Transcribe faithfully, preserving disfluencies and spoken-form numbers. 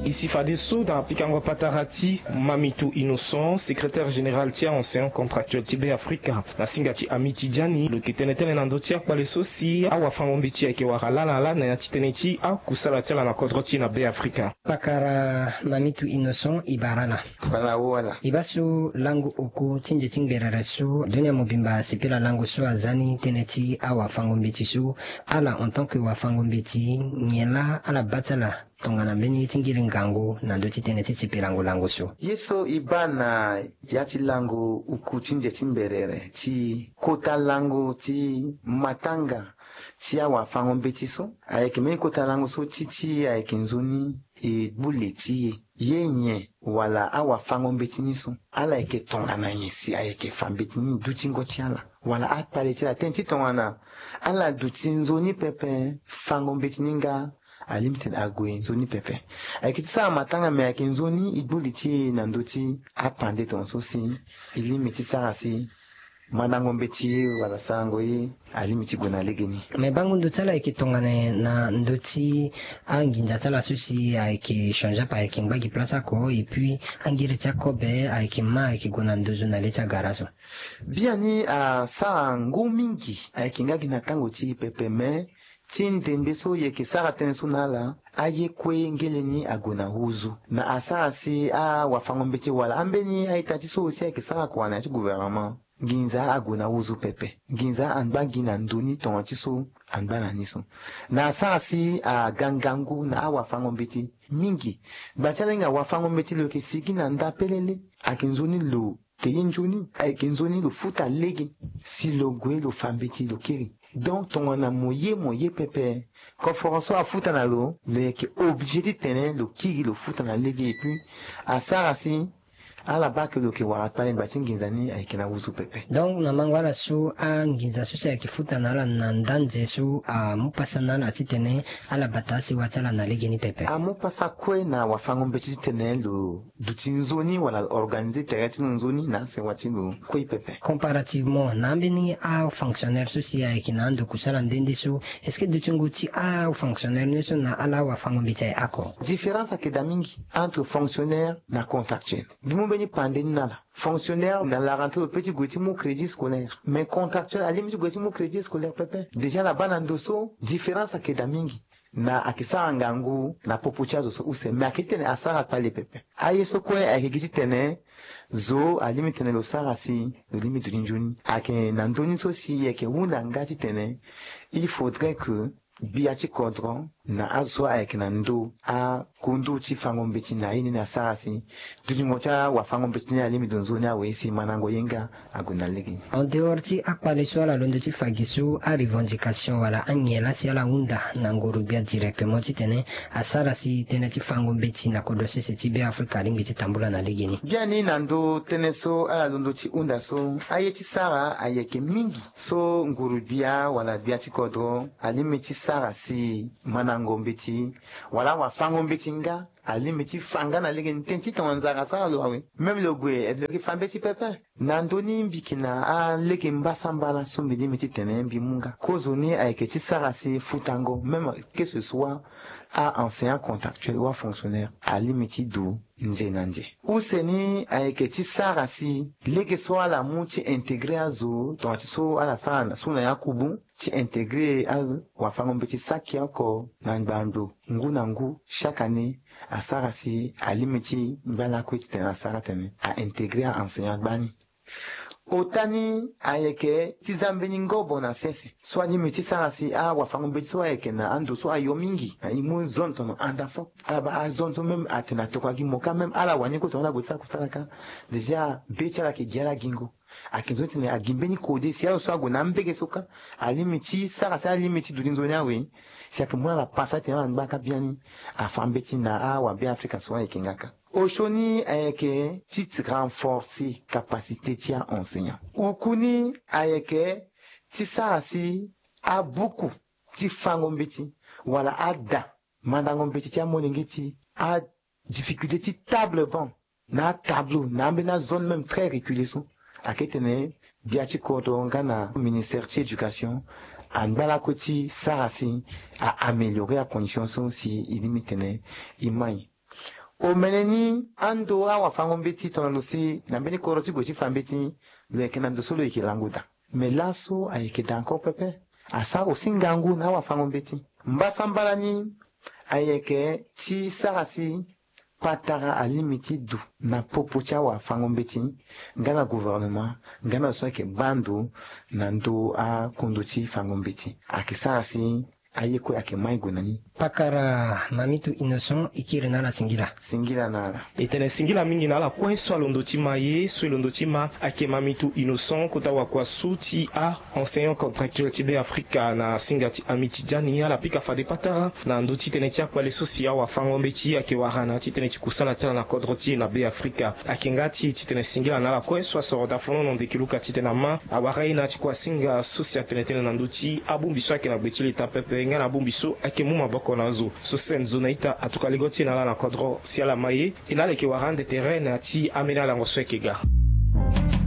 E si fadeso na pikango patara ti Mamitu Innocent, secrétaire général ti a-enseignant contractuel ti Beafrika, na singa ti Amitidiani, lo yeke tene tënë na ndö ti akpale so si awafango-mbeti ayeke wara ala na ala na ya ti tënë ti akusala ti ala na kodro ti e na Beafrika. Pakara Mamitu Innocent, e bara ala. Bana wo ala. E baa so lango oku ti nze ti ngberere so dunia mobimba asepela lango so aza ni tënë ti awafango-mbeti so, ala en tant que wafango-mbeti nyen laa ala baa ti ala tongana mbeni ye ti ngiri ngangu na ndö ti tënë ti sipilango lango so? Ye so e baa na ya ti lango oku ti nze ti mberere ti kota lango ti matanga ti awafango-mbeti so, ayeke mbeni kota lango so ti ti ayeke nzoni e gbu le ti e. Ye nyen wala awafango-mbeti ni so ala yeke tongana nyen si ayeke fa mbeti ni dutingo ti ala? Wala akpale ti ala tënë ti tongana ala duti nzoni pepe fango-mbeti ni nga, alingbi titene ague nzoni pepe. Ayeke ti sara matanga me ayeke nzoni e gbu li ti e na ndö ti apande tongaso si e lingbi ti sara si mandango mbeti ye wala sarango ye alingbi ti gue na legeni. Me bango ndo ti ala ayeke tongana nyen na ndö ti anginza ti ala so si ayeke change ape, ayeke ngba gi place oko, et puis angiri ti akobe ayeke ma ayeke gue na nduzu na le ti agara so? Biani asara ngu mingi, ayeke nga gi na tango ti e pepe, me ti ndembe so e yeke sara tënë so na ala, aye kue ngeleni ague na huzu. Na asara si awafango-mbeti wala ambeni a-ita ti so aussi ayeke sara kua na ya ti gouvernement, nginza ague na huzu pepe. Nginza angba gi na ndo ni tongana ti so angba na ni so. Na asara si aga ngangu na awafango-mbeti mingi. Gba ti ala hinga wafango-mbeti lo yeke sigi na nda pelele. Ayeke nzoni lo te ye nzoni, ayeke nzoni lo futa lege. Si lo gue lo fa mbeti lo kiri. Donc tongana mo ye mo ye pepe, koforo so afuta na lo, lo yeke obligé titene lo kiri lo futa na lege. Et puis asara si ala baa ke lo yeke wara kpale ngba ti nginza ni ayeke na huzu pepe. Donc na mango ala so anginza so si ayeke futa na ala na nda nze so amu pasa na ala titene ala bata asewa ti ala na legeni pepe? Amu pasa kue na wafango-mbeti titene lo duti nzoni wala lo organiser tere ti lo nzoni na asewa ti lo kue pepe. Comparativement na ambeni afonctionnaire so si ayeke na ando kusala nde nde so, est-ce que dutingo ti afonctionnaire ni so na ala awafango-mbeti aye oko? Différence ayeke daa mingi entre fonctionnaire na contractuel. Mbi mu mbeni pande ni na ala. Fonctionnaire na la rentrée lo peut ti gue ti mu crédit scolaire. Mais contractuel alingbi ti gue ti mu crédit scolaire pepe. Déjà ala baa na ndo so différence ayeke daa mingi. Na ayeke sara ngangu na popo ti azo so use, me ayeke titene asara kpale pepe. Aye so kue ayeke gi titene zo alingbi titene lo sara si lo lingbi duti nzoni. Ayeke na ndö ni so si e yeke hunda nga titene il faudrait que gbia ti kodro na azo so ayeke na ndö akundu ti fango mbeti na ye ni ni asara si dutingo ti awafango mbeti ni alingbi duti nzoni awe si mandango ye nga ague na lege ni. En dehors ti akpale so ala londo ti fa gi so, arevendication wala anyen laa si ala hunda na nguru-gbia directement titene asara si tënë ti fango mbeti na kodro sese ti Beafrika alingbi ti tambula na lege ni? Biani na ndö tënë so ala londo ti hunda so, aye ti sara ayeke mingi so nguru-gbia wala gbia ti kodro alingbi ti sara si mandango mbeti wala awafango mbeti nga alingbi ti fa nga na lege ni. Tënë ti tongana nzara asara lo awe, même lo gue lo yeke fa mbeti pepe. Na ndö ni mbi yeke na alege mbasambala so mbi lingbi titene mbi mu nga. Kozoni ayeke ti sara si futango, même que ce soit a-enseignant contractuel ou afonctionnaire, alingbi ti du nze na nze. Use ni ayeke ti sara si lege so ala mu ti intégrer azo tongana ti so ala sara na so na ya kubu, ti intégrer awafango mbeti saki oko na ngbando ngu na ngu chaque année, asara si alingbi ti ngba lakue titene asara tene a intégrer a-enseignant gbani. Ota ni ayeke ti za mbeni ngobo na sese so alingbi ti sara si awafango mbeti so ayeke na ando so ayo mingi, na e mu zone tono anda fo. Ala baa azone so même atene atokua gi mo ka, même ala wani kue tongana ala gue ti sara kusala ka, déjà be ti ala yeke gi ala gingo. Ayeke nzoni titene agi mbeni kode si azo so ague na ambege so ka, alingbi ti sara si alingbi ti duti nzoni awe. Si ayeke mu na ala pasa titene ala ngba ka biani, afa mbeti na awabeafrika so ayeke nga ka. Osioni ayeke ti renforcer capacité ti a-enseignant. Oku ni ayeke ti sara si abuku ti fango mbeti wala ada mandango mbeti ti amolenge ti a difficulté ti table banc na atableau na ambeni azone même très reculé so. Ayeke tene gbia ti kodro nga na ministère ti éducation angba lakue ti sara si a améliorer acondition so si e lingbi tene e mai. Omene ni ando awafango-mbeti tongana lo si na mbeni kodro ti gue ti fa mbeti, lo yeke na ndo so lo yeke lango daa. Me laso ayeke daa encore pepe. Asara aussi ngangu na awafango-mbeti. Mbasambala ni ayeke ti sara si patara alingbi ti du na popo ti awafango-mbeti nga na gouvernement nga na lo so ayeke baa ndo na ndö akundo ti fango-mbeti. Ayeke sara si aye kue ayeke mai gue na ni. Pakara Mamitu Innocent, e kiri na ala singila. Singila na ala. E tene singila mingi na ala kue so alondo ti ma ye. So e londo ti ma ayeke Mamitu Innocent, kota wakua so ti a enseignant contractuel ti Beafrika na singa ti Amitidiani. Ala pika fade patara na ndö ti tënë ti akpale so si awafango-mbeti ayeke wara na ya ti tënë ti kusala ti ala na kodro ti e na Beafrika. Ayeke nga ti titene singila na ala kue so asoro daa fonono ndeke luka titene ama awara ye na ya ti kua singa so si atene tënë na ndö ti abongbi so ayeke na gbe ti leta pepe nga na abongbi so ayeke mu maboko na azo. So Sen Zonaita atuka ligo ti e na ala na kodro si ala ma ye. E na ala yeke wara ande tere na ya ti ambeni alango so ayeke ga.